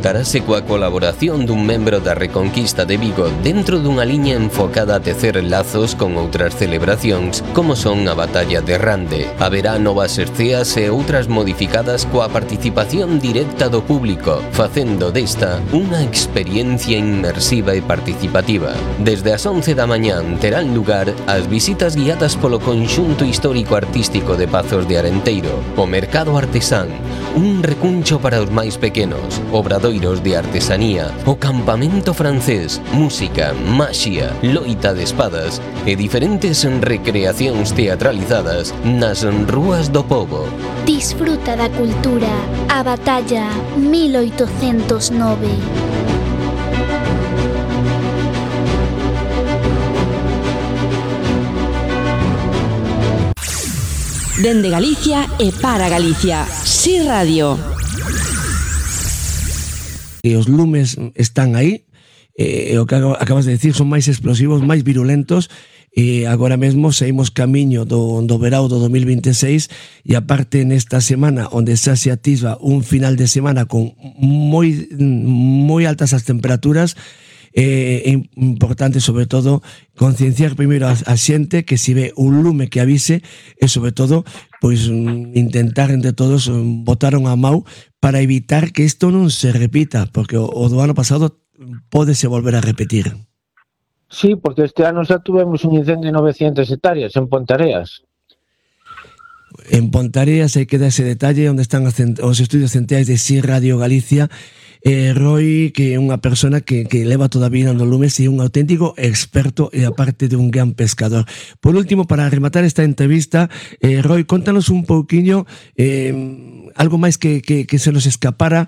contarase coa colaboración dun membro da Reconquista de Vigo dentro dunha liña enfocada a tecer lazos con outras celebracións como son a Batalla de Rande. Haberá novas esceas e outras modificadas coa participación directa do público, facendo desta unha experiencia inmersiva e participativa. Desde as 11 da mañán terán lugar as visitas guiadas polo conxunto histórico-artístico de Pazos de Arenteiro, o Mercado Artesán, un recuncho para os máis pequenos, obradoiros de artesanía, o campamento francés, música, maxia, loita de espadas e diferentes recreacións teatralizadas nas rúas do pobo. Disfruta da cultura. A Batalla 1809. Dende Galicia e para Galicia. Si Radio. E os lumes están aí, o que acabas de decir, son máis explosivos, máis virulentos, e agora mesmo saímos camiño do verao do 2026 e aparte nesta semana onde xa se atisba un final de semana con moi altas as temperaturas. É importante, sobre todo, concienciar primeiro a xente que se ve un lume que avise e, sobre todo, pois intentar entre todos botar unha mau para evitar que isto non se repita, porque o do ano pasado pódese volver a repetir. Sí, porque este ano xa tuvemos un incendio de 900 hectáreas en Pontareas. En Pontareas hai que dar ese detalle onde están os estudios centrais de Si Radio Galicia. Roy, que é unha persona que leva toda a vida no lumes e un auténtico experto e aparte de un gran pescador. Por último, para rematar esta entrevista, Roy, contanos un pouquiño algo máis que se nos escapara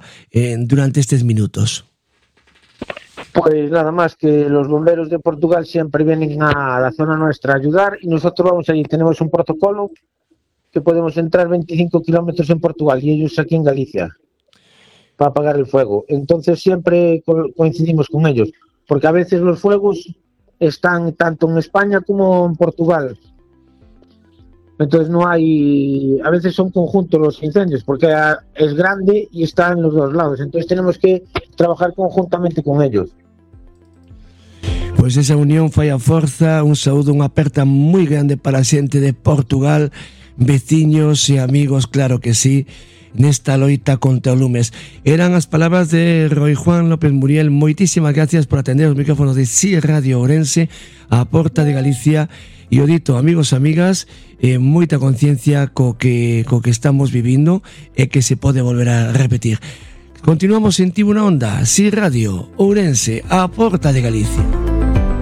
durante estes minutos. Pues nada más que los bomberos de Portugal siempre vienen a la zona nuestra a ayudar y nosotros vamos allí, tenemos un protocolo que podemos entrar 25 kilómetros en Portugal y ellos aquí en Galicia para apagar el fuego. Entonces siempre coincidimos con ellos, porque a veces los fuegos están tanto en España como en Portugal. Entonces no hay, a veces son conjuntos los incendios, porque es grande y está en los dos lados. Entonces tenemos que trabajar conjuntamente con ellos. Pois esa unión fai a forza. Un saúdo, unha aperta moi grande para a xente de Portugal, veciños e amigos, claro que sí, nesta loita contra o lumes. Eran as palabras de Roy Juan López Muriel. Moitísimas gracias por atender os micrófonos de Si Radio Ourense, a porta de Galicia. E o dito, amigos e amigas, moita conciencia co que estamos vivindo e que se pode volver a repetir. Continuamos en Tribuna Onda, Si Radio Ourense, a porta de Galicia.